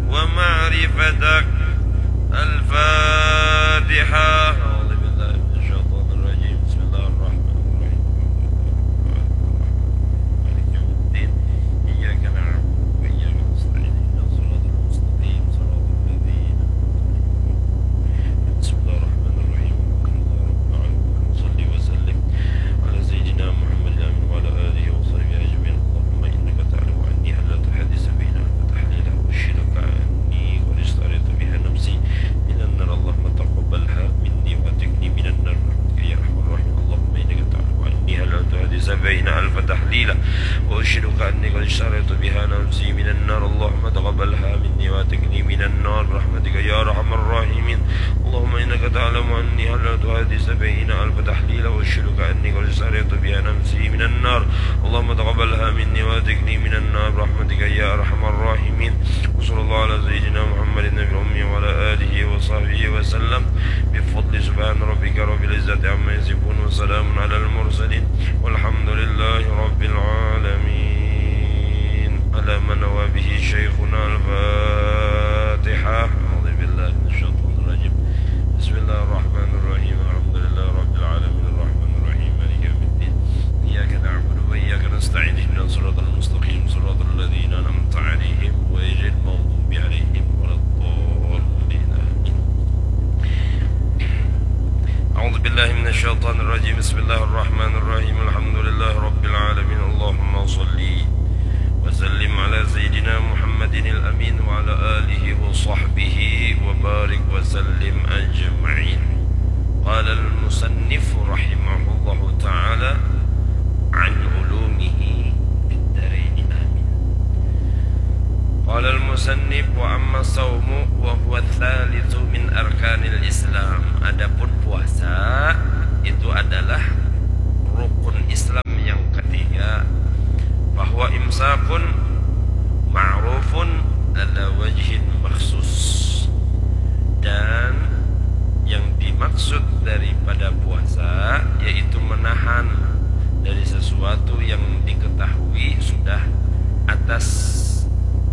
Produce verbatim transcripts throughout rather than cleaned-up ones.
ومعرفتك. الفاتحة. أعوذ بالله من الشيطان الرجيم. بسم الله الرحمن الرحيم. مالك يوم الدين. إياك نعبد وإياك نستعين. اهدنا الصراط المستقيم. صراط الذين أنعمت عليهم. بسم الله الرحمن الرحيم. الحمد لله رب العالمين. صل وسلم على سيدنا محمد الأمين وعلى آله وصحبه أجمعين. اللهم إنك تعلم أني ألا تحدث بيننا فتحليلا، أشهدك أني قد اشتريت بها نفسي من النار، اللهم تقبلها مني وأعتقني من النار برحمتك يا أرحم الراحمين. اللهم إنك تعلم أني ألا تحدث بيننا فتحليلا، وأشهدك أني قد اشتريت بها نفسي من النار، اللهم تقبلها مني وأعتقني من النار برحمتك يا أرحم الراحمين. اللهم إنك تعلم أني حللت هذه السبعين ألف تحليلا، وأشهدك أني قد اشتريت بها نفسي من النار. اللهم تقبلها مني وأعتقني من النار برحمتك يا أرحم الراحمين. وصلى الله على سيدنا محمد النبي الأمي وعلى آله وصحبه وسلم. بفضل سبحان ربك رب العزة عما يصفون، وسلام على المرسلين، والحمد لله رب العالمين. على ما نوى به شيخنا. الفاتحة. أعوذ بالله من الشيطان الرجيم. بسم الله الرحمن الرحيم. الحمد لله رب العالمين. الرحمن الرحيم. مالك يوم الدين. إياك نعبد وإياك نستعين. اهدنا الصراط المستقيم. صراط الذين أنعمت عليهم غير المغضوب عليهم ولا الضالين. آمين. أعوذ بالله من الشيطان الرجيم. بسم الله الرحمن الرحيم. الحمد لله رب العالمين. اللهم صل وسلم على سيدنا محمد الأمين وعلى آله وصحبه وبارك وسلم أجمعين. قال المصنف رحمه الله تعالى: عن علومه في الدارين. آمين. قال المصنف: وأما الصوم وهو الثالث من أركان الإسلام. Adapun puasa, itu adalah rukun Islam yang ketiga. فهو إمساك معروف على وجه مخصوص. Dan yang dimaksud daripada puasa yaitu menahan dari sesuatu yang diketahui sudah atas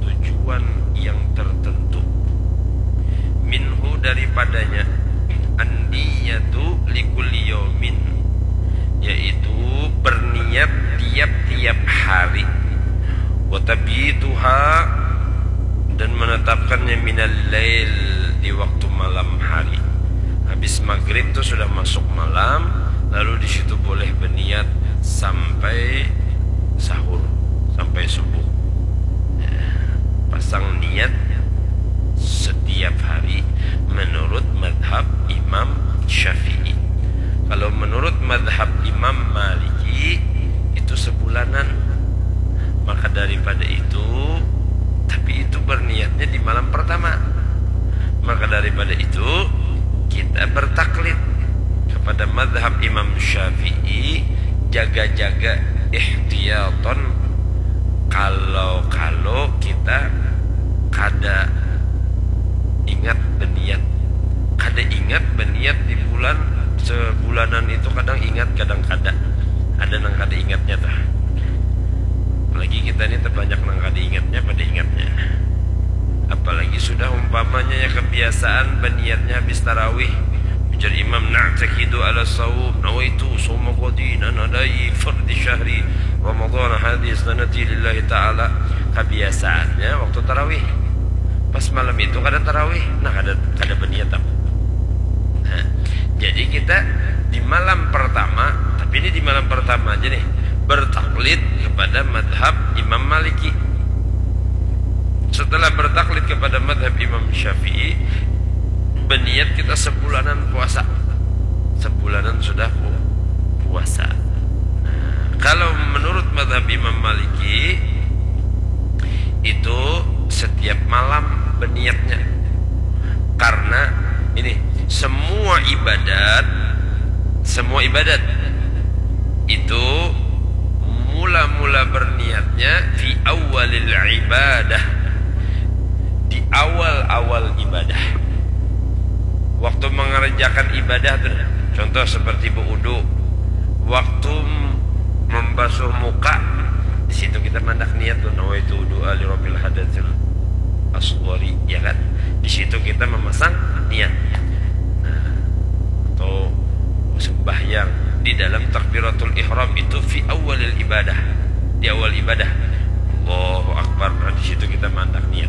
tujuan yang tertentu. Minhu, daripadanya, an-niyatu likulli yaumin, yaitu berniat tiap-tiap hari. Wa tabituha, dan menetapkannya minal lail, di waktu malam hari. Habis maghrib tu sudah masuk malam, lalu di situ boleh berniat sampai sahur, sampai subuh. Ya, pasang niat setiap hari menurut madhab Imam Syafi'i. Kalau menurut madhab Imam Maliki, itu sebulanan. Maka daripada itu, tapi itu berniatnya di malam pertama. Maka daripada itu, kita bertaklid kepada madhab Imam Syafi'i, jaga-jaga ihtiyatan, kalau-kalau kita kada ingat beniat. Kada ingat beniat di bulan, sebulanan itu kadang ingat, kadang kada. Ada nang kada ingatnya tah. Apalagi kita ni terbanyak nang kada ingatnya pada ingatnya. Apalagi sudah umpamanya ya kebiasaan beniatnya habis tarawih. Ujar imam, "Na'taqidu ala sawm, nawaitu sawma ghadin, ana adai fardi syahri Ramadan hadhihi sanati lillahi ta'ala." Kebiasaannya waktu tarawih. Pas malam itu kada tarawih, nah, kada, kada beniat aku. Nah, jadi kita di malam pertama, tapi ini di malam pertama aja nih, bertaklid kepada madhab Imam Maliki. Setelah bertaklid kepada madhab Imam Syafi'i, beniat kita sebulanan puasa. Sebulanan sudah pu-, puasa. Nah, kalau menurut madhab Imam Maliki, itu setiap malam beniatnya. Karena ini, semua ibadat, semua ibadat itu mula-mula berniatnya fi awalil ibadah, di awal-awal ibadah. Waktu mengerjakan ibadah tu, contoh seperti berwudu, waktu membasuh muka, di situ kita mandak niat tu, nawaitu wudu'a li rabbil hadatsin. niat. Nah, atau sembahyang di dalam takbiratul ihram itu fi awalil ibadah, di awal ibadah. Allahu Akbar. Nah, di situ kita mandak niat.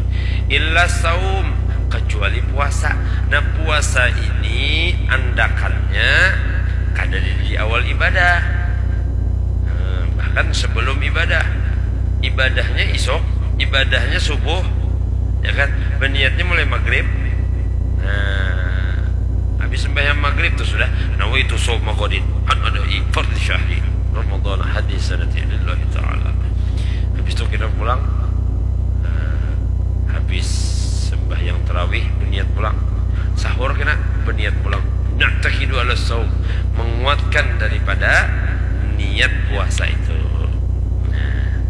Illa saum, kecuali puasa. Nah, puasa ini andakannya kada di, di awal ibadah. Nah, bahkan sebelum ibadah. Ibadahnya isuk, ibadahnya subuh, ya kan? Berniatnya mulai maghrib. Nah, habis sembahyang maghrib tuh sudah, nawaitu shauma ghadin an ada'i fardhi syahri Ramadan hadis sanati lillahi ta'ala. Habis itu kita pulang, nah, habis sembahyang tarawih berniat pulang, sahur kena berniat pulang. Na'taqidu ala saum, menguatkan daripada niat puasa itu. Nah,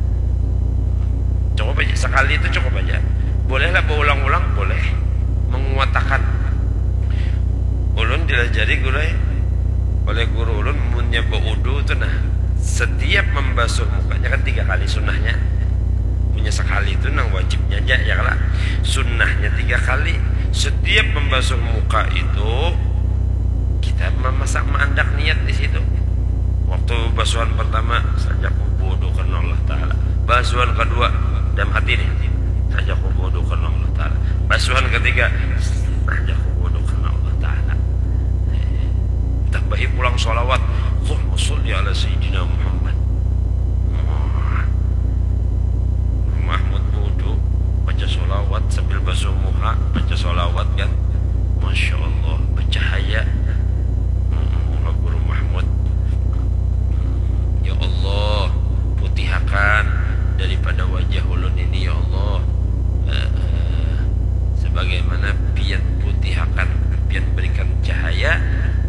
cukup aja, sekali itu cukup aja. Bolehlah berulang-ulang, boleh. Menguatakan. Ulun dilajari guru, eh, oleh guru ulun, munnya baudu tu nah, setiap membasuh mukanya kan tiga kali sunnahnya. Punya sekali itu nang wajibnya aja, ya kala? Sunnahnya tiga kali. Setiap membasuh muka itu kita memasak, maandak niat di situ. Waktu basuhan pertama saja kubudu karena Allah Ta'ala. Basuhan kedua dalam hati nih, saja kubudu karena Allah Ta'ala. Basuhan ketiga, saja kubudu karena Allah Ta'ala. Eh, tambahi pulang sholawat. Allahumma sholli ala Sayyidina Muhammad. Wah. Guru Mahmud budu, baca sholawat sambil basuh muha, baca sholawat kan. Masya Allah, bercahaya. Hmm, muha Guru Mahmud. Ya Allah, putihakan daripada wajah ulun ini, ya Allah. Eh, eh, sebagaimana pian putihakan, pian berikan cahaya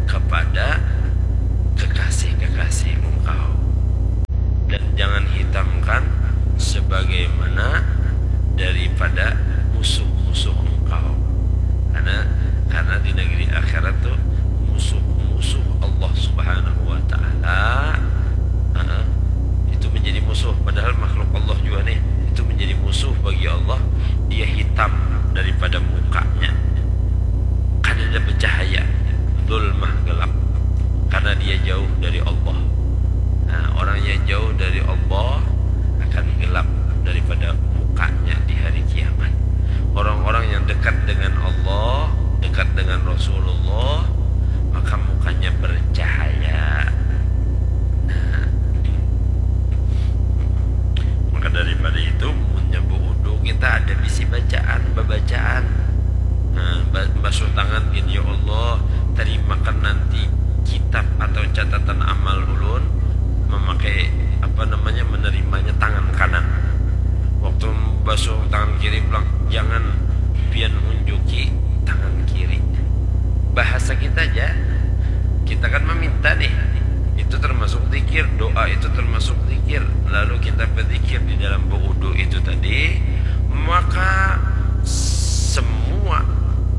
kepada kekasih-kekasih Engkau. Dan jangan hitamkan sebagaimana daripada musuh-musuh Engkau. Karena, karena di negeri akhirat tuh musuh-musuh Allah Subhanahu wa Ta'ala, eh, itu menjadi musuh. Padahal makhluk Allah juga nih, itu menjadi musuh bagi Allah. Dia hitam daripada mukanya. Kada ada bercahaya. Zulmah, gelap. Karena dia jauh dari Allah. Nah, orang yang jauh dari Allah akan gelap daripada mukanya di hari kiamat. Orang-orang yang dekat dengan Allah, dekat dengan Rasulullah, maka mukanya bercahaya. Nah, maka daripada itu, munnya baudu, kita ada bisi bacaan, babacaan. Nah, ba-, basuh tangan gin, "Ya Allah, terimakan nanti kitab atau catatan amal ulun memakai, apa namanya, menerimanya tangan kanan." Waktu basuh tangan kiri pulang, jangan pian unjuki tangan kiri. Bahasa kita aja, kita kan meminta nih, itu termasuk zikir, doa itu termasuk zikir. Lalu kita berzikir di dalam baudu itu tadi, maka semua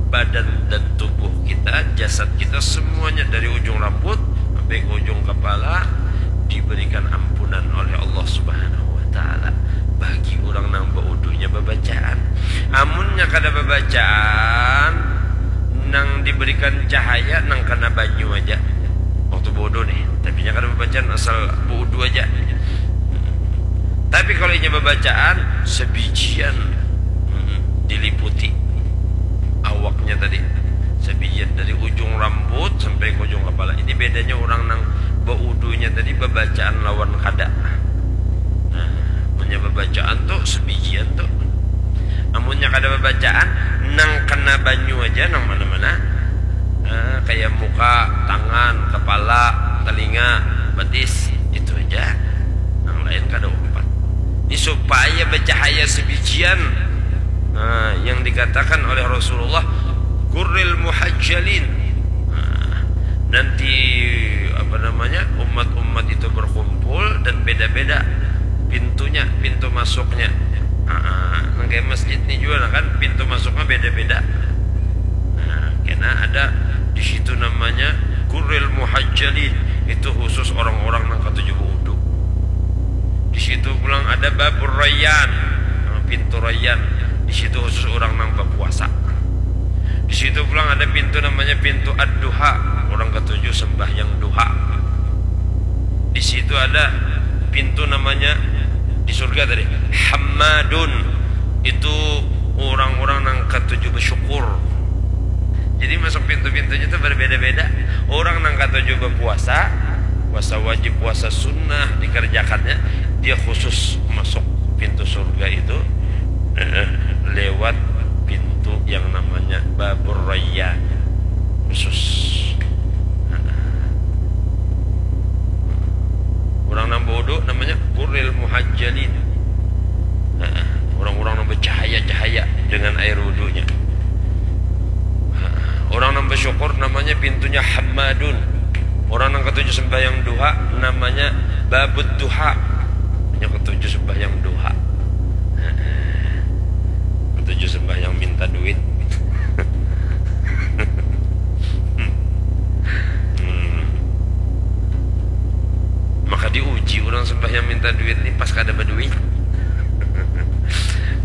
badan dan tubuh kita, jasad kita, semuanya dari ujung rambut sampai ke ujung kepala diberikan ampunan oleh Allah Subhanahu wa Ta'ala bagi orang nang baudunya babacaan. Amunnya kada babacaan, nang diberikan cahaya nang kena banyu aja. Waktu baudu nih, tapi nya kada babacaan, asal baudu aja. Tapi kalau inya babacaan, sebijian, mm, diliputi awaknya tadi. Sebijian dari ujung rambut sampai ke ujung kepala. Ini bedanya orang nang baudunya tadi babacaan lawan kada. Nah, munnya babacaan tuh sebijian tuh. Amunnya kada babacaan, nang kena banyu aja nang mana-mana. Nah, kayak muka, tangan, kepala, telinga, betis, itu aja. Nang lain kada umpat. Ini supaya bercahaya sebijian. Nah, yang dikatakan oleh Rasulullah, "Gurril muhajjalin." Nah, nanti, apa namanya, umat-umat itu berkumpul dan beda-beda pintunya, pintu masuknya. Ah, nang kayak masjid nih juga, nah kan, pintu masuknya beda-beda. Nah, kena ada di situ namanya Gurril Muhajjalin. Itu khusus orang-orang nang katuju baudu. Di situ pulang ada Babur Rayyan, nah, pintu Rayyan. Di situ khusus orang nang berpuasa. Di situ pulang ada pintu namanya pintu Ad-Duha. Orang ketujuh sembahyang duha. Di situ ada pintu namanya di surga tadi. Hammadun. Itu orang-orang nang ketujuh bersyukur. Jadi masuk pintu-pintunya itu berbeda-beda. Orang nang ketujuh berpuasa, puasa wajib, puasa sunnah dikerjakannya, dia khusus masuk pintu surga itu, eh, lewat pintu yang namanya Babur Rayyan, khusus. Orang nang baudu namanya Gurril Muhajjalin. Orang-orang nang bercahaya-cahaya dengan air wudunya. Orang nang bersyukur namanya pintunya Hammadun. Orang nang ketujuh sembahyang duha namanya Babud Duha. Yang ketujuh sembahyang duha. Ketujuh sembahyang minta duit. Hmm. Maka diuji orang sembahyang minta duit ni pas kada berduit.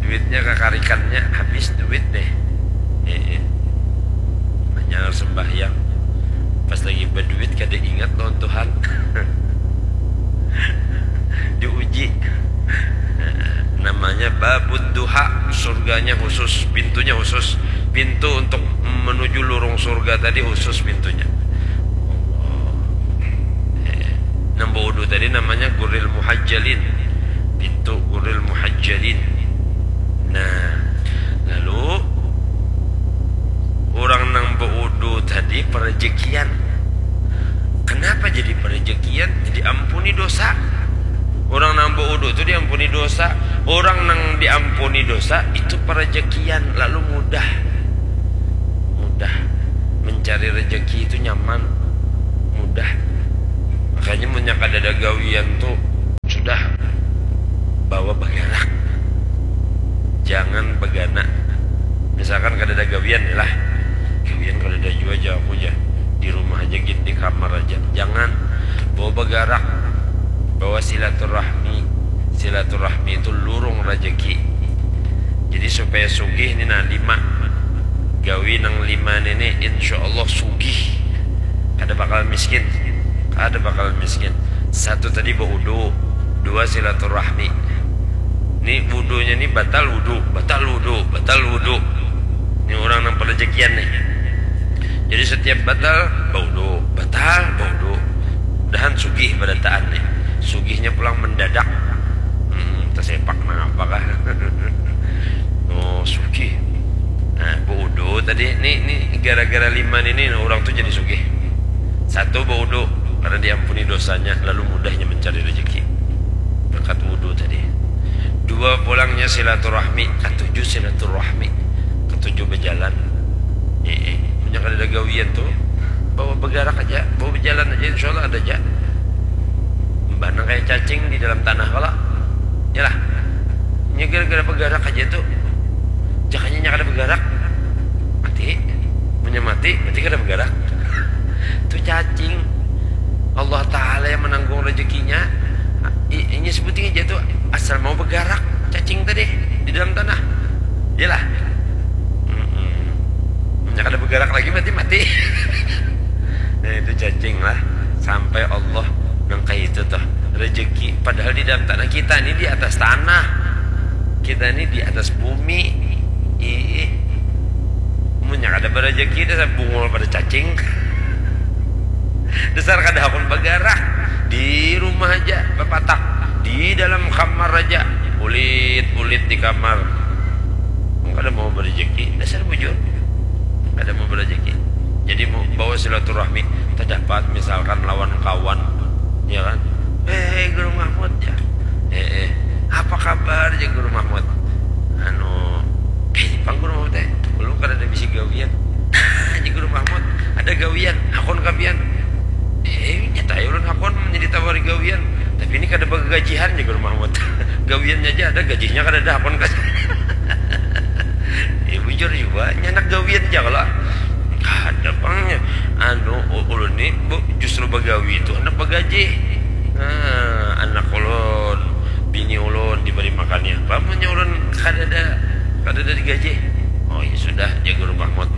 Duitnya kakarikannya habis duit deh. Eh, eh. Hanya sembahyang. Pas lagi berduit kada ingat lawan Tuhan. Diuji. Namanya Babud Duha, surganya khusus, pintunya khusus. Pintu untuk menuju lurung surga tadi khusus pintunya. Allah. Eh, nang baudu tadi namanya Gurril Muhajjalin. Pintu Gurril Muhajjalin. Nah, lalu orang nang baudu tadi perejekian. Kenapa jadi perejekian? Diampuni dosa. Orang nang baudu tu diampuni dosa. Orang nang diampuni dosa itu perejekian, lalu mudah. Mudah. Mencari rezeki itu nyaman, mudah. Makanya munnya kadada gawian tu sudah, bawa bagarak. Jangan bagana. Misalkan kadada gawian lah. Gawian kadada jua ja aku ja. Di rumah aja gin, di kamar aja. Jangan. Bawa bagarak. Bawa silaturahmi. Silaturahmi itu lurung rajaki. Jadi supaya sugih ni nah lima. Gawi nang lima ni, ni insya Allah sugih. Kada bakal miskin. Kada bakal miskin. Satu tadi baudu, dua silaturahmi. Ni wudunya ni batal wudu, batal wudu, batal wudu. Ni orang nang perejekian nih. Jadi setiap batal baudu, batal baudu. Mudahan sugih barataan nih. Sugihnya pulang mendadak. Hmm, tersepak nang apa kah? Oh, sugih. Nah, baudu tadi ni, ni gara-gara lima ni, ni orang tu jadi sugih. Satu baudu karena diampuni dosanya, lalu mudahnya mencari rezeki berkat wudu tadi. Dua pulangnya silaturahmi, katuju silaturahmi, katuju berjalan. Eh, eh. Punya kada ada gawian tu, bawa bergerak aja, bawa berjalan aja, insya Allah ada aja. Mbah nang kayak cacing di dalam tanah kala. Yalah. Nya gara-gara bergerak aja tu. Jakanya nya kada bergerak. Mati. Punya mati, berarti kada bergerak. Tu cacing. Allah Ta'ala yang menanggung rezekinya. I, inya sebuting aja tu asal mau bergerak cacing tadi di dalam tanah. Yalah. Mm-mm. Nya kada bergerak lagi berarti mati. Nah, itu cacing lah. Sampai Allah nang kayak itu tuh. Rezeki. Padahal di dalam tanah kita ini di atas tanah. Kita ini di atas bumi. Ih. Munnya kada berezeki dasar bungul pada cacing. Dasar kada hakun bergerak. Di rumah aja berpatak. Di dalam kamar aja. Ulit-ulit di kamar. Kada mau berezeki. Dasar bujur. Kada mau berezeki. Jadi mau bawa silaturahmi terdapat misalkan lawan kawan, ya kan? Eh, Guru Mahmud, ya. Eh, eh. Apa kabar, ya, Guru Mahmud? Anu, eh, pang Guru Mahmud, eh. Ulun kada ada bisi gawian. Nah, ya, Guru Mahmud, ada gawian, hakun kapian. Eh, nyata ya ulun hakun menjadi tawari gawian. Tapi ini kada bagajihan, ya, Guru Mahmud. Gawiannya aja ada, gajinya kada ada, hakun kan. Ya, bujur juga, nyanak gawian aja kalau. Kada pang, ya. Anu, u-, ulun ni, bu, justru bagawi itu, anak bagaji. Nah, anak ulun, bini ulun diberi makannya. Apa, munnya ulun kada ada, kada ada digaji. Oh, ya sudah, ya, Guru Mahmud.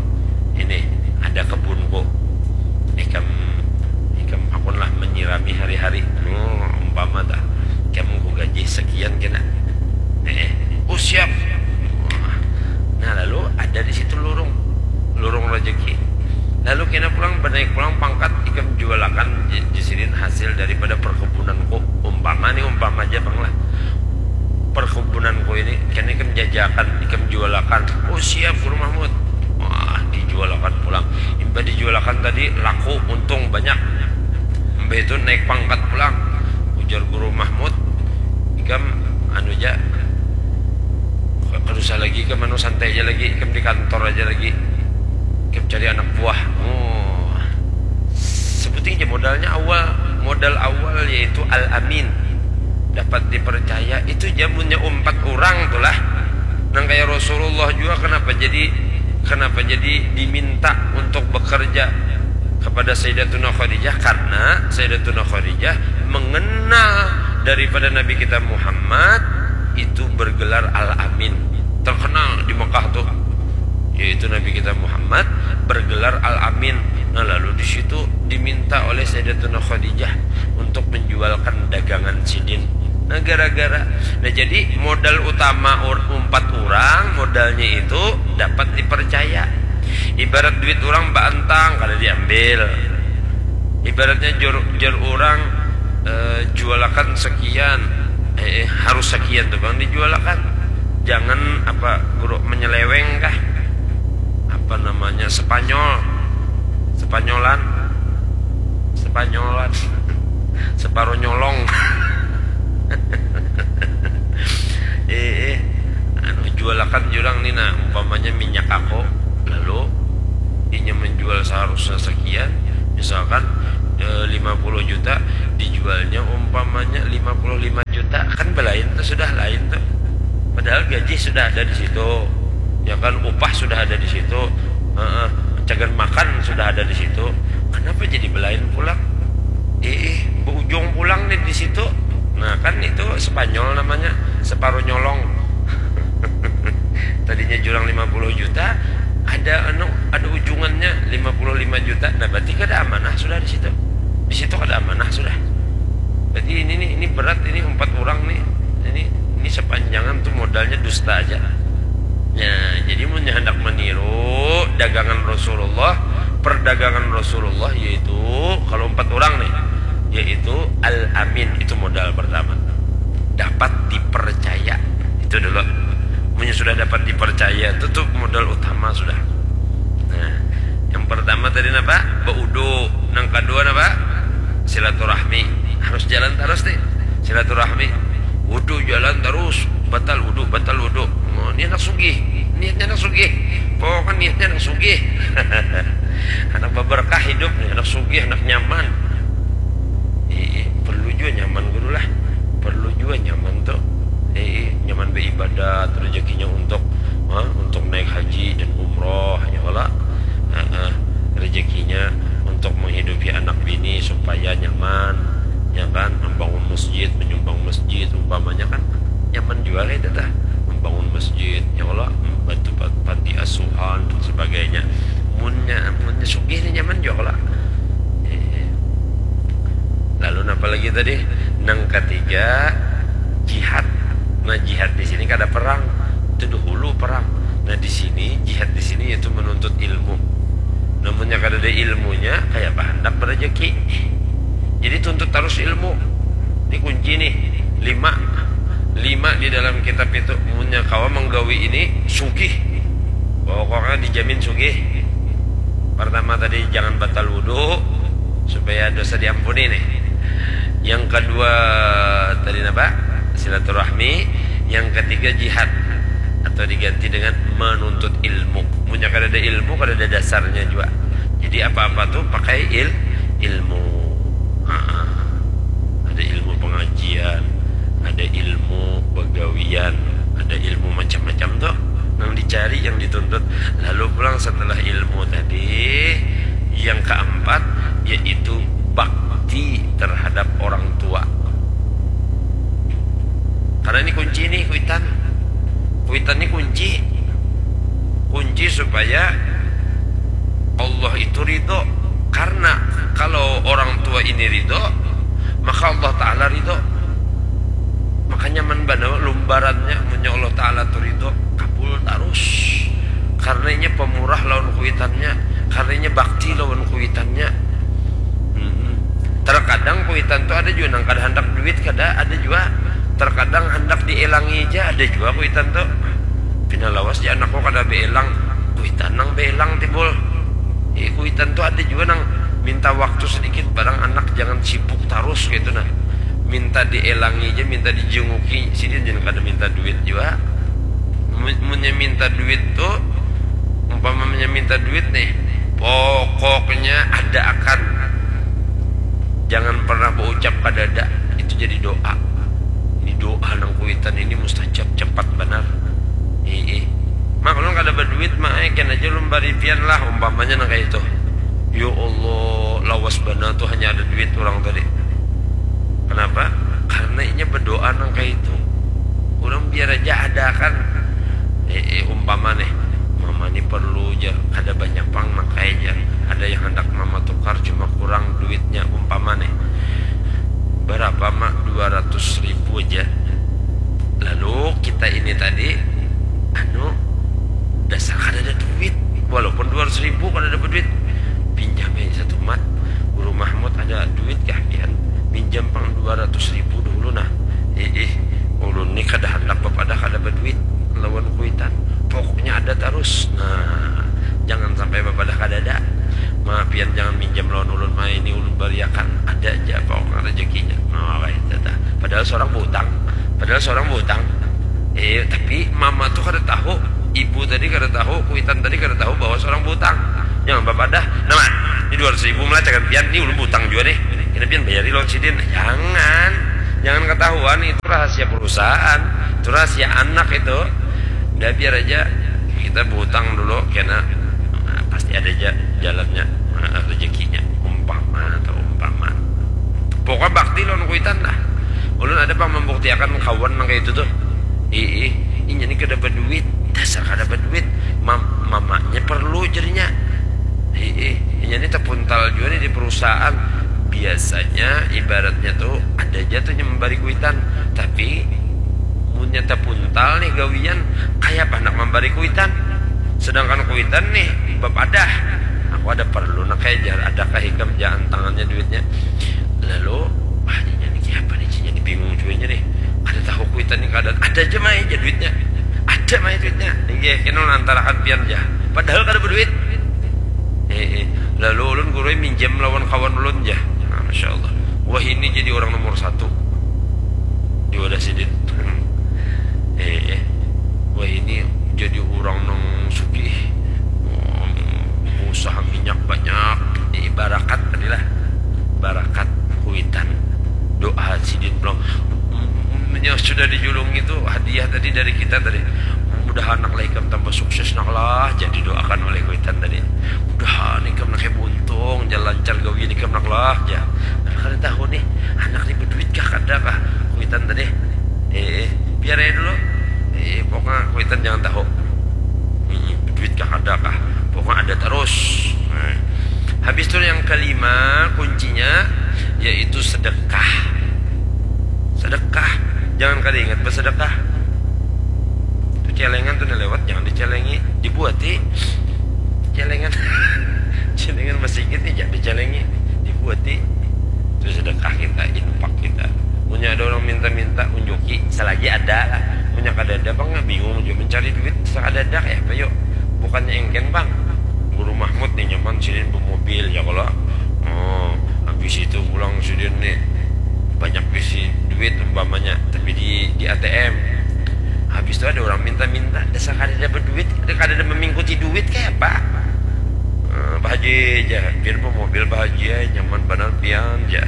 ini ada kebunku, ikam ikam hakunlah menyirami hari-hari. Oh, umpama tah, ikam ku gaji sekian kena. Eh, oh siap. Nah, lalu ada di situ lurung, lurung rezeki. Lalu kena pulang, bernaik pulang pangkat, ikam jualakan jisidin hasil daripada perkebunanku. Umpama nih, umpama aja bang lah, perkebunanku ini kena ikam jajakan, ikam jualakan. Oh siap, Guru Mahmud. Wah, dijualakan pulang. Imbah dijualakan tadi laku, untung banyak. Imbah itu naik pangkat pulang. Ujar Guru Mahmud, ikam anu ja, kada usah lagi ikam anu, santai aja lagi, ikam di kantor aja lagi, ikam cari anak buah. Oh, sebuting aja modalnya awal. Modal awal yaitu al-amin, dapat dipercaya. Itu jamunnya umpat orang tuh lah. Nang kayak Rasulullah juga, kenapa jadi kenapa jadi diminta untuk bekerja kepada Sayyidatuna Khadijah? Karena Sayyidatuna Khadijah mengenal daripada Nabi kita Muhammad itu bergelar Al-Amin. Terkenal di Mekah tuh, yaitu Nabi kita Muhammad bergelar Al-Amin. Nah, lalu di situ diminta oleh Sayyidatuna Khadijah untuk menjualkan dagangan sidin. Nah, gara-gara, nah, jadi modal utama ur- umpat orang, modalnya itu dapat dipercaya. Ibarat duit orang baantang, kada diambil. Ibaratnya jur, jur orang, eh, jualakan sekian, eh, eh, harus sekian tuh bang dijualakan. Jangan apa, Guru, menyeleweng kah? Apa namanya, Spanyol, Spanyolan, Spanyolan, separuh nyolong. Eh, eh, anu, jualakan jurang nih, nah, umpamanya minyak aku, lalu inya menjual seharusnya sekian, misalkan, eh, lima puluh juta, dijualnya umpamanya lima puluh lima juta, kan belain tuh, sudah lain tuh. Padahal gaji sudah ada di situ, ya kan, upah sudah ada di situ, heeh, cagan makan sudah ada di situ. Kenapa jadi belain pulang? Ih, berujung pulang nih di situ. Nah, kan itu Spanyol namanya, separuh nyolong. Tadinya jurang lima puluh juta, ada anu, ada ujungannya lima puluh lima juta. Nah, berarti kada amanah sudah di situ. Di situ kada amanah sudah. Berarti ini nih, ini berat, ini empat orang nih. Ini ini sepanjangan tuh modalnya dusta aja. Ya, jadi mun hendak meniru dagangan Rasulullah, perdagangan Rasulullah, yaitu kalau empat orang nih, yaitu al-amin, itu modal pertama. Dapat dipercaya. Itu dulu. Punya sudah dapat dipercaya, itu tuh modal utama sudah. Nah, yang pertama tadi napa? Baudu. Yang kedua napa? Silaturahmi. Harus jalan terus nih. Silaturahmi. Wudu jalan terus, batal wudu, batal wudu. Oh, ini anak sugih. Niatnya anak sugih. Pokoknya niatnya anak sugih. Anak berkah hidup nih, anak sugih, anak nyaman. Ih, perlu juga nyaman, Guru lah. Perlu juga nyaman tuh. Ih, nyaman beribadat, rezekinya untuk, ha, untuk naik haji dan umroh, ya kalo. Heeh. Rezekinya untuk menghidupi anak bini supaya nyaman, ya kan, membangun masjid, menyumbang masjid umpamanya, kan nyaman juga kayak itu tah, membangun masjid, ya kalo, membantu pa- panti asuhan dan sebagainya. Munnya munnya sugih nih nyaman juga kalo. Eh, lalu napa lagi tadi? Nang ketiga, jihad. Nah, jihad di sini kada perang. Itu dahulu perang. Nah, di sini, jihad di sini yaitu menuntut ilmu. Namunnya kada ada ilmunya, kayak apa handak berejeki? Jadi tuntut terus ilmu. Ini kunci nih. Lima. Lima di dalam kitab itu. Munnya kawa menggawi ini, sugih. Pokoknya dijamin sugih. Pertama tadi, jangan batal wudu supaya dosa diampuni nih. Yang kedua tadi napa? Silaturahmi. Yang ketiga, jihad, atau diganti dengan menuntut ilmu. Munnya kada ada ilmu, kada ada dasarnya juga. Jadi apa-apa tuh pakai il ilmu. Ha, ada ilmu pengajian, ada ilmu begawian, ada ilmu macam-macam tuh yang dicari, yang dituntut. Lalu pulang setelah ilmu tadi, yang keempat yaitu bakti terhadap orang tua. Karena ini kunci nih, kuitan. Kuitan ini kunci. Kunci supaya Allah itu ridho. Karena kalau orang tua ini ridho, maka Allah Ta'ala ridho. Makanya nyaman banar lumbarannya, munnya Allah Ta'ala tu ridho, kabul tarus. Karena inya pemurah lawan kuitannya, karena inya bakti lawan kuitannya. Hmm. Terkadang kuitan tu ada jua nang kada handak duit, kada, ada jua. Terkadang handak dielangi ja, ada jua kuitan tu. Pina lawas ja anakku kada beelang, kuitan nang beelang timbul. Eh, kuitan tu ada jua nang minta waktu sedikit, barang anak jangan sibuk tarus kaitu nah. Minta dielangi ja, minta dijenguki, sidin jan kada minta duit jua. Mun-, munnya minta duit tu, umpamanya minta duit nih, pokoknya ada akan. Jangan pernah baucap kadada. Itu jadi doa. Ini doa nang kuitan ini mustajab, cepat banar. Ih, ih. Mak, ulun kada baduit, Mak, eh, kena aja ulun bari pian lah, umpamanya nang kaya itu. Ya Allah, lawas banar tuh hanya ada duit orang tadi. Kenapa? Karena inya berdoa nang kaya itu. Orang biar aja ada kan. Eh, eh, umpama nih, mama nih perlu ja, kada banyak pang nang kaya jar. Ada yang hendak mama tukar cuma kurang duitnya, umpama nih. Berapa, Mak? Dua ratus ribu aja. Lalu kita ini tadi, anu, dasar kada ada duit. Walaupun dua ratus ribu kada ada duit, pinjam aja satu, Mat. Guru Mahmud ada duit kah pian? Minjam pang dua ratus ribu dulu nah. Ih, ih, ulun ni kada handak bapadah kada baduit lawan kuitan. Pokoknya ada tarus. Nah, jangan sampai bapadah kadada. Ma, pian jangan minjam lawan ulun, Ma, ini ulun bariakan. Ada aja pokoknya rezekinya. Nah, wah, itu dah. Padahal seorang butang. Padahal seorang butang. Eh, tapi mama tuh kada tahu, ibu tadi kada tahu, kuitan tadi kada tahu bahwa seorang butang. Jangan bapadah. Nah, Ma, ini dua ratus ribu melacakan pian, ini ulun butang juga nih. Kena pian bayari lawan sidin. Jangan. Jangan ketahuan, itu rahasia perusahaan. Itu rahasia anak itu. Udah, biar aja. Kita butang dulu, kena, nah, pasti ada aja jalannya, nah, rezekinya. Umpama atau umpama. Pokoknya bakti lawan kuitan lah. Ulun ada pang membuktiakan kawan nang kayak itu tuh. Ih, ih, inya ni kada baduit, dasar kada baduit. Mam-, mamanya perlu jadinya. Ih, ih, inya ni tapuntal juga nih di perusahaan. Biasanya ibaratnya tuh ada aja tuh yang membari kuitan. Tapi munnya tapuntal nih gawian, kayak apa nak membari kuitan? Sedangkan kuitan nih bapadah. Aku ada perlu nak kayak jar, adakah ikam jangan tangannya duitnya? Lalu, wah, ini nih kayak apa nih, cinya nih bingung juga nih. Ada tahu kuitan nih keadaan, ada aja mai aja duitnya. Ada mai duitnya. Ini kena antarakan pian aja. Padahal kada berduit. Eh, eh. Lalu ulun gurui minjam lawan kawan ulun ja. Nah, Masya Allah. Wah, ini jadi orang nomor satu di wadah sidin. Eh, eh. Wah, ini jadi orang nang sugih. Wah, usaha minyak banyak. Eh, barakat tadi lah. Barakat kuitan. Doa sidin pulang. Yang sudah dijulungi itu hadiah tadi dari kita tadi. Mudah-mudahan anak lah ikam tambah sukses nak lah. Jadi doakan oleh kuitan tadi. Mudahan ikam nak kayak buntung, jalan lancar gawian ikam nak lah, ja. Kada tahu nih, anak ni berduit kah kada kah? Kuitan tadi. Eh, eh, biar aja dulu. Eh, pokoknya kuitan jangan tahu. Hmm, berduit kah kada kah? Pokoknya ada terus. Nah. Habis itu yang kelima, kuncinya yaitu sedekah. Sedekah. Jangan kada ingat bersedekah. Itu celengan tuh nih lewat, jangan dicelengi, dibuati. Celengan. Celengan masih ingat nih, jangan dicelengi, dibuati. Itu sedekah kita, infak kita. Punya ada orang minta-minta, unjuki selagi ada lah. Punya kada ada, bang, bingung juga mencari duit. Sekada ada kayak apa yuk? Bukannya engken, bang. Guru Mahmud nih nyaman sidin bermobil ya kalau. Oh, habis itu pulang sidin nih banyak bisi duit umpamanya, tapi di di A T M. Habis itu ada orang minta-minta, dasar kada ada berduit, kada ada memingkuti duit kayak apa? Eh, Pak Haji aja, biar bermobil Pak Haji ya, nyaman benar pian aja.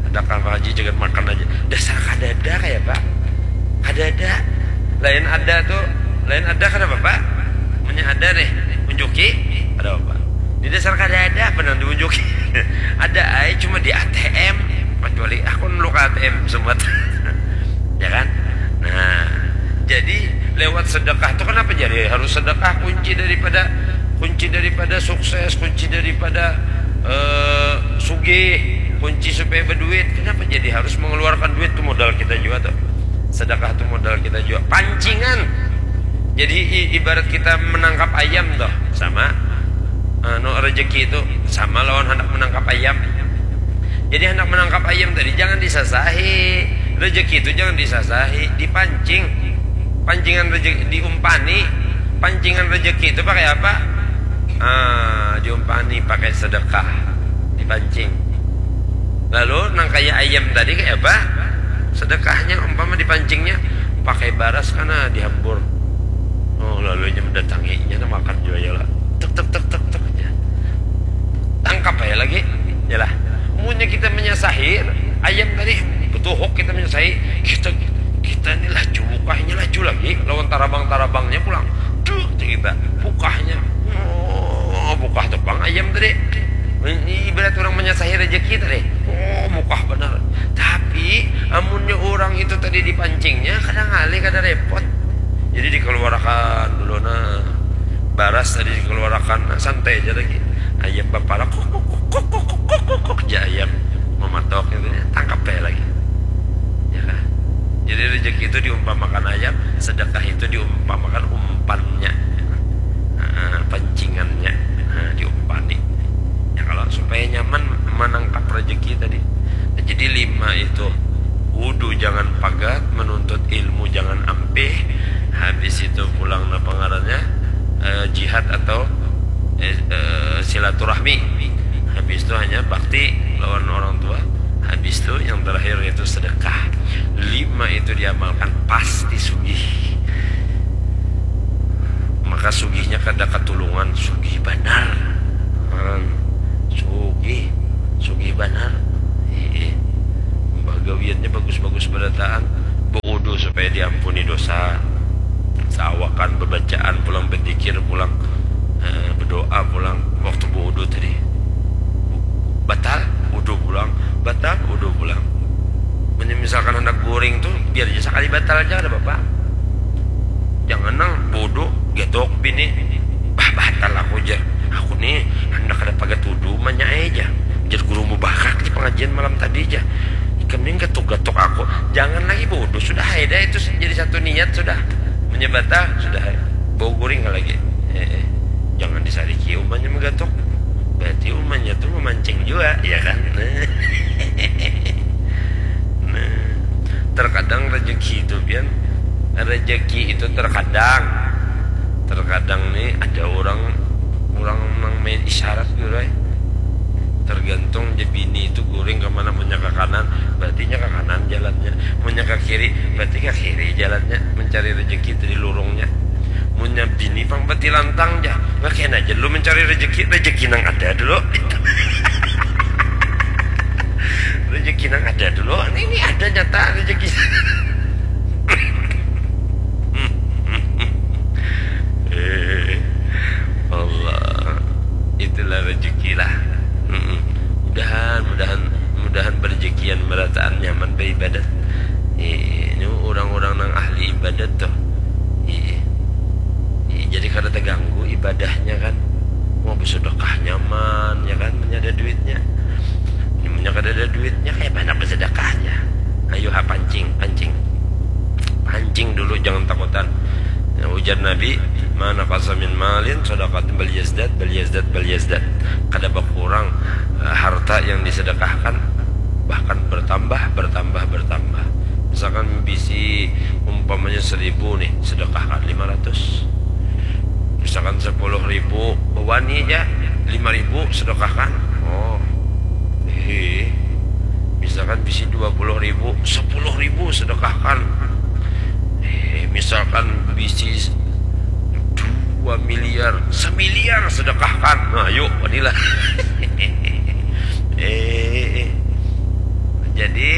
Adakah Pak Haji jangan makan aja. Dasar kada ada kayak apa? Kada ada. Lain ada tuh, lain ada kada apa-apa. Punya ada nih, unjuki, ada apa? Di dasar kada ada apa nang diunjuki? Ada ai cuma di A T M. Kecuali aku nulu ke A T M semua. Ya kan? Nah, jadi lewat sedekah tuh kenapa jadi harus sedekah? Kunci daripada Kunci daripada sukses, kunci daripada eh, sugih, kunci supaya berduit. Kenapa jadi harus mengeluarkan duit? Itu modal kita juga tuh. Sedekah tuh modal kita juga. Pancingan. Jadi i- ibarat kita menangkap ayam tuh, sama anu, rezeki itu sama lawan hendak menangkap ayam. Jadi hendak menangkap ayam tadi jangan disasahi, rezeki itu jangan disasahi, dipancing. Pancingan rezeki diumpani. Pancingan rezeki itu pakai apa? Ah, diumpani pakai sedekah, dipancing. Lalu nang kayak ayam tadi kayak apa? Sedekahnya umpama dipancingnya pakai baras karena dihambur. Oh, lalu nya mendatanginya, nah, makan juga ya lah. Tek tek tek tek tek ya. Tangkap aja lagi. Yalah. Munnya kita menyasahi ayam tadi, betuhuk kita menyasahi, kita kita ini laju bukahnya laju lagi lawan tarabang-tarabangnya pulang. Duh, kita bukahnya. Oh, bukah tuh bang ayam tadi. Ini ibarat orang menyasahi rezeki tadi. Oh, bukah benar. Tapi amunnya orang itu tadi dipancingnya kadang alih kada repot. Jadi dikeluarkan dulu nah. Baras tadi dikeluarkan, nah, santai aja lagi. Ayam baparak kuk kuk kuk kuk kuk kuk kuk kuk, ja ayam mematok gitu ya, tangkap aja lagi. Ya kan? Jadi rezeki itu diumpamakan ayam, sedekah itu diumpamakan umpannya. Nah, pancingannya, nah, diumpani. Ya kalau supaya nyaman menangkap rezeki tadi. Jadi lima itu, wudhu jangan pagat, menuntut ilmu jangan ampih, habis itu pulang napa ngarannya, eh, jihad atau eh, eh, silaturahmi. Habis itu hanya bakti lawan orang tua. Habis itu yang terakhir itu sedekah. Lima itu diamalkan pasti sugih. Maka sugihnya kada katulungan, sugih banar. Hmm. Sugih, sugih banar. Iya. Bagawiannya bagus-bagus berataan. Baudu supaya diampuni dosa. Saawakan bebacaan pulang, bedikir pulang, eh, bedoa pulang waktu baudu tadi. Batal, udu pulang, batal, udu pulang. Mun misalkan hendak guring tu, biar aja sakali batal aja, kada apa-apa. Jangan nang baudu, getok bini, bah, batal aku, jar. Aku ni handak kada pagat udu, manya ai, jar. Jar guru mubakak di pengajian malam tadi, jar. Ikam ni gatuk-gatuk aku. Jangan lagi baudu, sudah ai dah itu jadi satu niat sudah. Munnya batal, sudah ai. Bau guring lagi. Eh, eh. Jangan disariki umanya menggatuk. Berarti umanya tu memancing jua, ya kan? Nah, terkadang rezeki itu, pian, rezeki itu terkadang, terkadang ni ada orang, orang nang main isyarat gitu ai. Tergantung je bini itu guring ke mana, munnya ke kanan, berarti nya ke kanan jalannya. Munnya ke kiri, berarti ke kiri jalannya, mencari rezeki itu di lurungnya. Munnya bini pang betilantang ja, ngakian aja dulu mencari rezeki, rezeki nang ada dulu. Rezeki nang ada dulu, ini, ini ada nyata rezeki. Eh, Allah, itulah rezeki lah. Mm-mm. Mudahan, mudahan, mudahan berezekian merataan nyaman beribadat. Eh, ini orang-orang nang ahli ibadat tuh. Iya. Iya, jadi kada terganggu ibadahnya kan. Mau bersedekah nyaman ya kan, punya ada duitnya. Ini punya kada ada duitnya, kayak mana bersedekahnya? Ayo ha, pancing, pancing. Pancing dulu, jangan takutan. Ya, ujar Nabi, mana kasamin malin sadaqatin bal yazdad, bal yazdad, bal yazdad. Kada berkurang eh, harta yang disedekahkan, bahkan bertambah, bertambah, bertambah. Misalkan bisi umpamanya seribu nih, sedekahkan lima ratus. Misalkan sepuluh ribu, wani aja, lima ribu sedekahkan. Oh, hehe. Misalkan bisi dua puluh ribu, sepuluh ribu sedekahkan. Eh, misalkan bisi dua miliar, semiliar sedekahkan. Nah, yuk, wanilah. Eh, jadi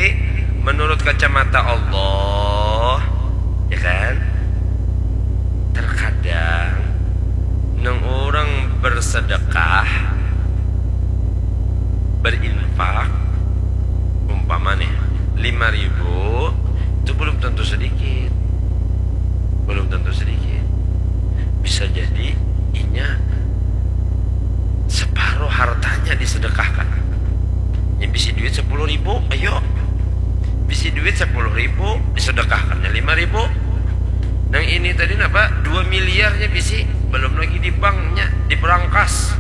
menurut kacamata Allah, ya kan? Terkadang nang orang bersedekah, berinfak, umpama nih, lima ribu, itu belum tentu sedikit. Belum tentu sedikit. Bisa jadi inya sedekahkan. Nya bisi duit sepuluh ribu, ayo. Bisi duit sepuluh ribu, disedekahkannya lima ribu. Nang ini tadi napa? Dua miliarnya bisi, belum lagi di banknya, di berangkas.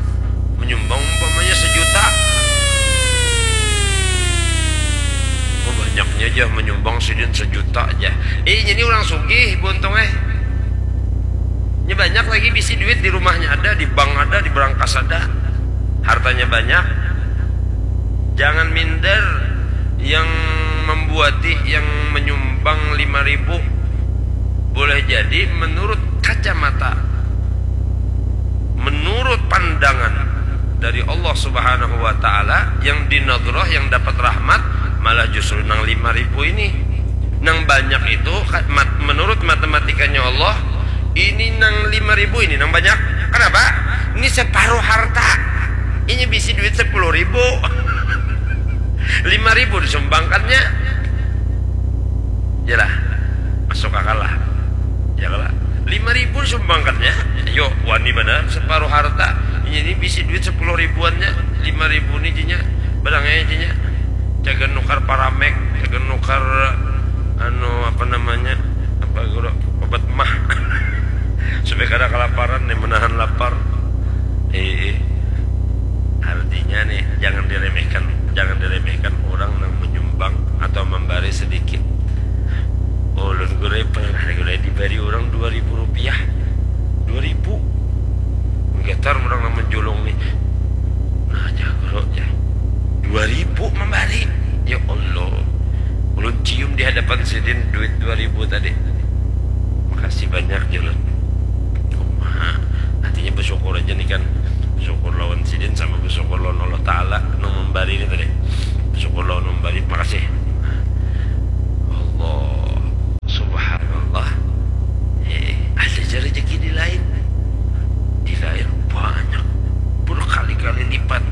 Menyumbang umpamanya sejuta. Oh, banyaknya aja menyumbang sidin sejuta aja. Eh, jadi orang sugih buntung eh. Ini banyak lagi bisi duit di rumahnya ada, di bank ada, di berangkas ada. Hartanya banyak. Jangan minder yang membuati, yang menyumbang lima ribu. Boleh jadi menurut kacamata, menurut pandangan dari Allah Subhanahu wa taala, yang dinadrah, yang dapat rahmat, malah justru nang lima ribu ini. Nang banyak itu, ka-, mat-, menurut matematikanya Allah, ini nang lima ribu ini nang banyak. Kenapa? Ini separuh harta. Ini bisi duit sepuluh ribu. Lima ribu disumbangkannya. Yalah, masuk akal lah. Ya kalah. Lima ribu disumbangkannya. Yo, wani banar separuh harta. Ini bisi duit sepuluh ribuannya. Lima ribu ni jinya. Barang aja jinya. Jaga nukar paramek, jaga nukar, anu, apa namanya? Apa guru? Obat mah. Supaya kada kalaparan nih, menahan lapar. Eh, eh. Artinya nih, jangan diremehkan, jangan diremehkan orang nang menyumbang atau memberi sedikit. Ulun gulai pernah gulai diberi orang dua ribu rupiah. Dua ribu. Menggetar orang nang menjulung nih. Nah, jago ya. Dua ribu memberi. Ya Allah. Ulun cium di hadapan sidin duit dua ribu tadi. Makasih banyak, jar ulun. Kumaha? Artinya bersyukur aja nih kan. Bersyukur lawan sidin sama bersyukur lawan Allah Ta'ala nang memberi ini tadi. Bersyukur lawan memberi, makasih. Allah. Subhanallah. Eh, ada aja rezeki di lain. Di lain banyak. Berkali-kali lipat.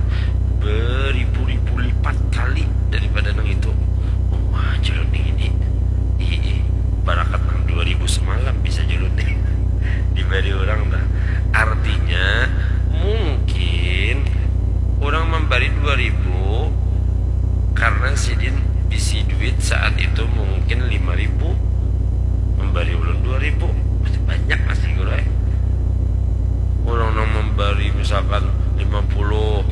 Beribu-ribu lipat kali daripada nang itu. Wah, jar ulun ini. Ih, ih, barakat nang dua ribu semalam bisa jar ulun nih. Diberi orang dah. Artinya, mungkin orang memberi dua ribu karena sidin bisi duit saat itu mungkin lima ribu. Memberi ulun dua ribu. Masih banyak masih guru, eh. Orang nang memberi misalkan lima puluh,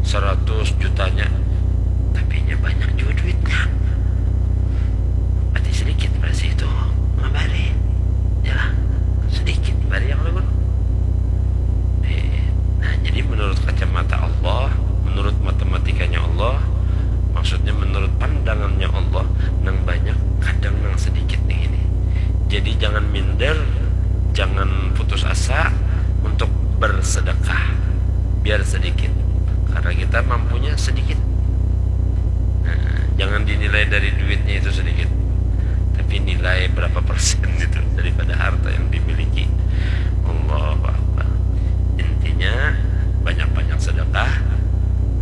seratus jutanya. Tapi nya banyak juga duitnya. Berarti sedikit berarti itu memberi. Yalah, sedikit bari yang ulun. Eh, nah, jadi menurut kacamata Allah, menurut matematikanya Allah, maksudnya menurut pandangannya Allah, nang banyak kadang nang sedikit nih ini. Jadi jangan minder, jangan putus asa untuk bersedekah. Biar sedikit. Karena kita mampunya sedikit. Nah, jangan dinilai dari duitnya itu sedikit. Tapi nilai berapa persen itu daripada harta yang dimiliki. Allahu Akbar. Intinya, banyak-banyak sedekah.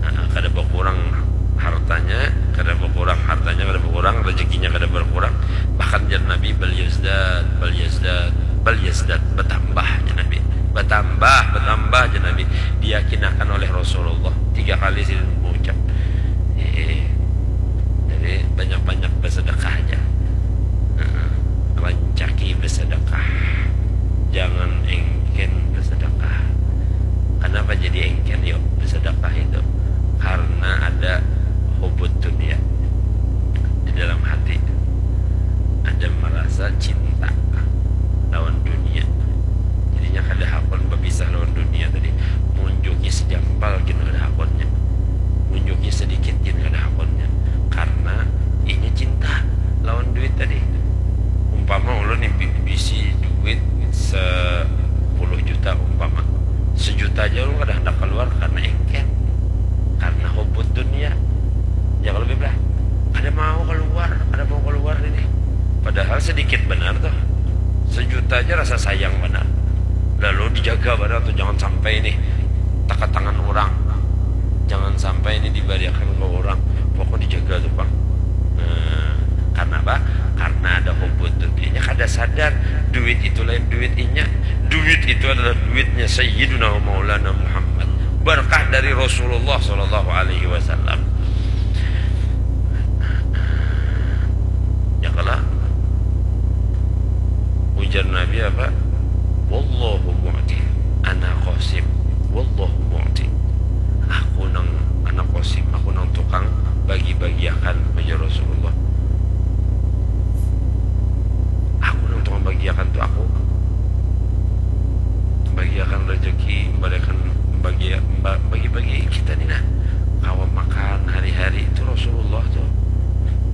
Nah, kada berkurang hartanya, kada berkurang hartanya, kada berkurang, rezekinya kada berkurang. Bahkan jar Nabi, "Bal yazdad, bal yazdad, bal yazdad," bertambah jar Nabi. Bertambah, bertambah jar Nabi. Diyakinakan oleh Rasulullah. Tiga kali sidin mengucap. Eh, jadi banyak-banyak bersedekah aja. Nah, rancaki bersedekah. Jangan engken bersedekah. Kenapa jadi engken yuk bersedekah itu? Karena ada hubut dunia di dalam hati. Ada merasa cinta lawan dunia. Jadinya kada hakun berpisah lawan dunia tadi. Munjuki sejampal gin kada hakunnya. Munjuki sedikit gin kada hakunnya. Karena inya cinta lawan duit tadi. Umpama ulun nih bi-, bisi duit sepuluh juta umpama. Sejuta aja ulun kada hendak keluar karena engken. Karena hubut dunia. Ya kalau biblah, kada mau keluar, kada mau keluar ini. Padahal sedikit benar tuh. Sejuta aja rasa sayang benar. Lalu dijaga benar tuh, jangan sampai ini teka tangan orang. Jangan sampai ini dibariakan ke orang. Pokok dijaga tuh, Bang. Nah, karena apa? Karena ada hubut dunia. Inya kada sadar duit itu lain duit inya. Duit itu adalah duitnya Sayyiduna wa Maulana Muhammad. Berkah dari Rasulullah sallallahu alaihi wasallam. Ya kala, ujar Nabi apa? "Wallahu mu'ti, ana qasim, wallahu mu'ti." Aku nang, anak qasim, aku nang tukang bagi-bagiakan, ujar Rasulullah. Aku nang tukang bagiakan tu aku. Bagiakan rezeki, bagiakan, bagi, ba-, bagi-bagi kita ni nah. Kawa makan hari-hari itu Rasulullah tu.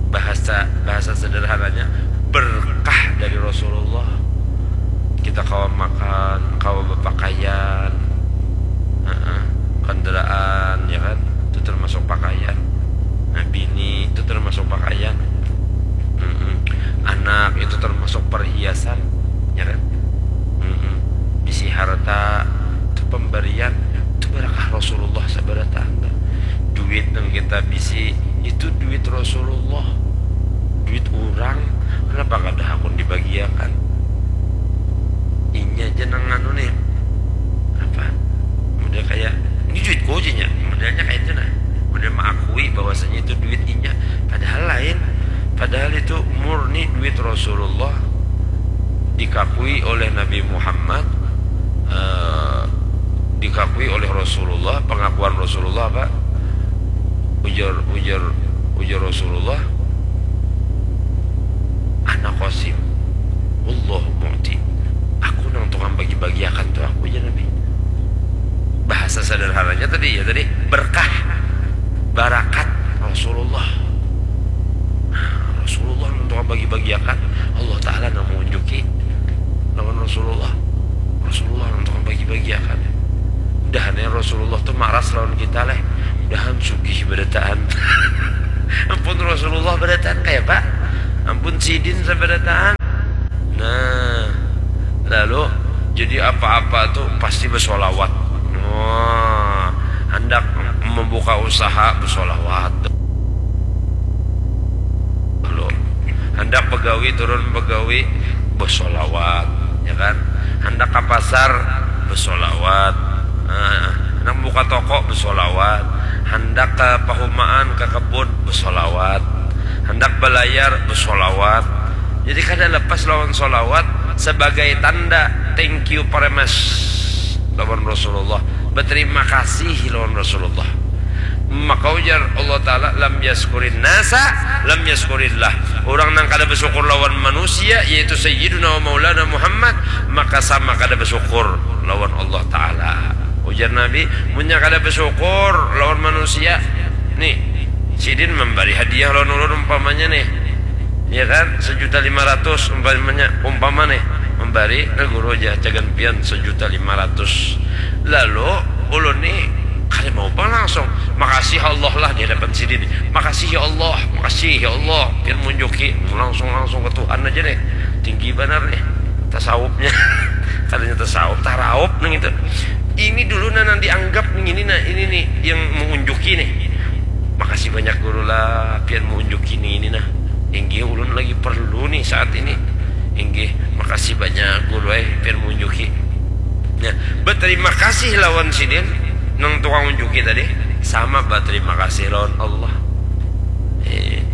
Bahasa, bahasa sederhananya, berkah dari Rasulullah. Kita kawa makan, kawa bapakaian, heeh, kendaraan, ya kan, itu termasuk pakaian. Nah, bini itu termasuk pakaian. Mm-mm. Anak itu termasuk perhiasan, ya kan? Mm-mm. Bisi harta itu pemberian, itu berkah Rasulullah sabarataan. Duit yang kita bisi itu duit Rasulullah, duit orang, kenapa kada hakun dibagiakan? Inya aja nang anu nih, apa, model kayak, "Ini duitku," aja nya, modelnya kayak itu nah, model mengakui bahwasanya itu duit inya, padahal lain, padahal itu murni duit Rasulullah, dikakui oleh Nabi Muhammad, eh, dikakui oleh Rasulullah, pengakuan Rasulullah apa? Ujar, ujar, ujar Rasulullah, "Ana qasim, wallahu mu'ti." Aku nang tukang bagi-bagiakan tu aku, jar Nabi. Bahasa sederhananya tadi, ya tadi, berkah, barakat Rasulullah. Nah, Rasulullah nang tukang bagi-bagiakan, Allah Ta'ala nang mengunjuki lawan Rasulullah. Rasulullah nang tukang bagi-bagiakan. Mudahan ya Rasulullah tu maras lawan kita leh. Mudahan sugih barataan. Ampun Rasulullah barataan kaya apa? Ampun sidin sabarataan. Nah, lalu jadi apa-apa tu pasti bersolawat. Wah, hendak membuka usaha bersolawat. Dulu. Handak begawi turun begawi besolawat, ya kan? Handak ka pasar besolawat. Nah, handak buka toko besolawat. Handak ke pahumaan ke kebun besolawat. Handak belayar besolawat. Jadi kada lepas lawan solawat sebagai tanda thank you very much lawan Rasulullah, berterima kasih lawan Rasulullah. Maka ujar Allah Ta'ala, "Lam yaskurin nasa, lam yaskurillah." Orang nang kada bersyukur lawan manusia, yaitu Sayyiduna wa Maulana Muhammad, maka sama kada bersyukur lawan Allah Ta'ala. Ujar Nabi, "Munnya kada bersyukur lawan manusia, nih, sidin memberi hadiah lawan ulun umpamanya nih, ya kan, sejuta lima ratus umpamanya, umpama nih, memberi ke guru aja, cagan pian sejuta lima ratus. Lalu ulun nih kada mau pang langsung, 'Makasih Allah lah,' di hadapan sidin. 'Makasih ya Allah, makasih ya Allah,' pian munjuki langsung, langsung ke Tuhan aja nih. Tinggi banar nih tasawufnya. Katanya tasawuf, taraup nang itu. Ini dulu nah nang dianggap nih, ini nah, ini nih yang mengunjuki nih. 'Makasih banyak guru lah, pian mengunjuki nih ini nah. Inggih, ulun lagi perlu nih saat ini. Inggih, makasih banyak guru eh, pian mengunjuki.'" Nah, berterima kasih lawan sidin nang tukang unjuki tadi sama berterima kasih lawan Allah. Eh,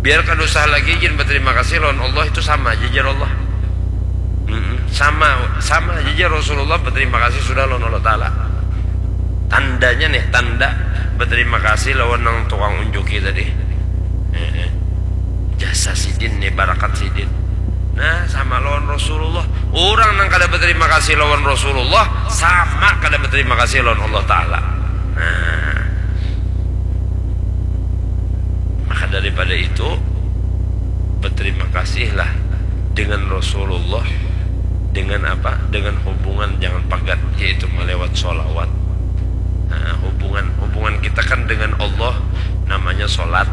biar kada usah lagi gin berterima kasih lawan Allah, itu sama aja jar Allah. Mm-mm. Sama, sama aja jar Rasulullah berterima kasih sudah lawan Allah Ta'ala. Tandanya nih, tanda berterima kasih lawan nang tukang unjuki tadi. Eh, eh. Jasa sidin nih, barakat sidin. Nah, sama lawan Rasulullah. Orang nang kada berterima kasih lawan Rasulullah sama kada berterima kasih lawan Allah Ta'ala. Nah, maka daripada itu, berterima kasihlah dengan Rasulullah. Dengan apa? Dengan hubungan jangan pagat, yaitu melewat solawat. Nah, hubungan, hubungan kita kan dengan Allah namanya solat.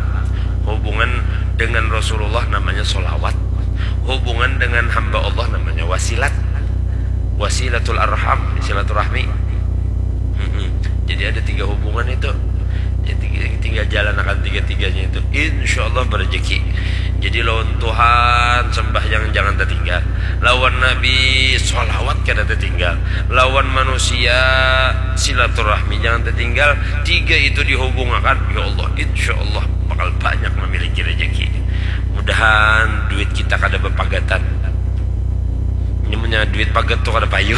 Hubungan dengan Rasulullah namanya solawat. Hubungan dengan hamba Allah namanya wasilat. Wasilatul arham, silaturahmi. Mm-mm. Jadi ada tiga hubungan itu. Jadi, tinggal jalanakan tiga-tiganya itu, insya Allah berejeki. Jadi lawan Tuhan sembahyang jangan tertinggal, lawan Nabi sholawat kada tertinggal, lawan manusia silaturahmi jangan tertinggal. Tiga itu dihubungakan, ya Allah, insya Allah bakal banyak memiliki rejeki. Mudahan duit kita kada berpagatan. Ini punya duit pagat tuh kada payu.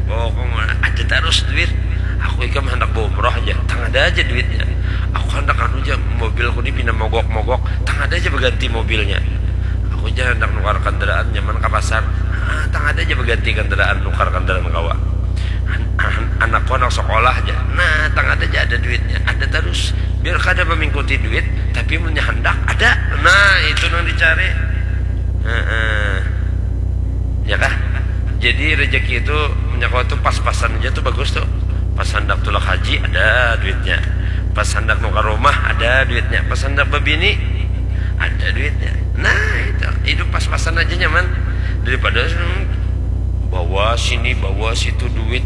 Pokoknya ada terus duit. Aku ikam hendak baumroh aja, tang ada aja duitnya. Aku hendak anu aja, mobilku ini pina mogok-mogok, tang ada aja berganti mobilnya. Aku aja hendak nukar kendaraan nyaman ke pasar, ah, tang ada aja berganti kendaraan, nukar kendaraan kawa. An- an- anakku anak sekolah aja, nah, tang ada aja ada duitnya, ada terus. Biar kada mengikuti duit, tapi punya hendak ada. Nah, itu yang dicari. Heeh. Ya kah? Jadi rezeki itu menyangkut tuh pas-pasan aja tuh bagus tuh. Pas hendak tulak haji ada duitnya. Pas hendak nukar rumah ada duitnya. Pas hendak berbini ada duitnya. Nah, itu hidup pas-pasan aja nyaman daripada bawa sini bawa situ duit,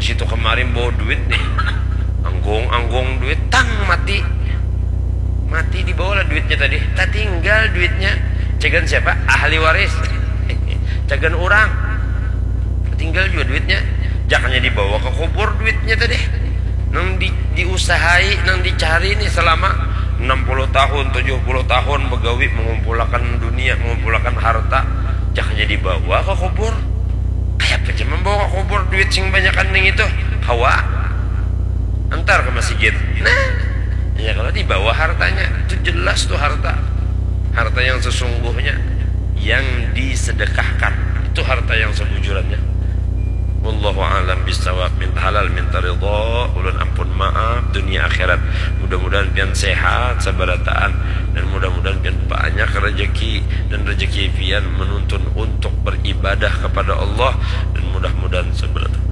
situ kemarin bawa duit nih, anggung-anggung duit, tang mati. Mati dibawalah duitnya tadi, tatinggal duitnya. Cagan siapa? Ahli waris. Cagan orang, tatinggal juga duitnya. Jakanya dibawa ke kubur duitnya tadi, nang di, diusahai, nang dicari nih selama enam puluh tahun, tujuh puluh tahun begawi, mengumpulakan dunia, mengumpulakan harta. Jakanya dibawa ke kubur. Kayak apa aja membawa ke kubur duit sing banyakan ning itu? Hawa. Antar ke masjid. Nah, ya kalau dibawa hartanya, itu jelas tuh harta. Harta yang sesungguhnya yang disedekahkan, itu harta yang sebujurannya. Wallahu a'lam bishawab. Minta halal, minta ridho, ulun ampun maaf dunia akhirat. Mudah-mudahan pian sehat sabarataan, dan mudah-mudahan pian banyak rezeki, dan rezeki pian menuntun untuk beribadah kepada Allah, dan mudah-mudahan sabarataan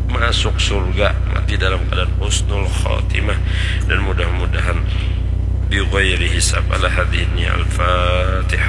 masuk surga, mati dalam keadaan husnul khatimah, dan mudah-mudahan bi ghairi hisab. Ala hadhihi al-fatihah.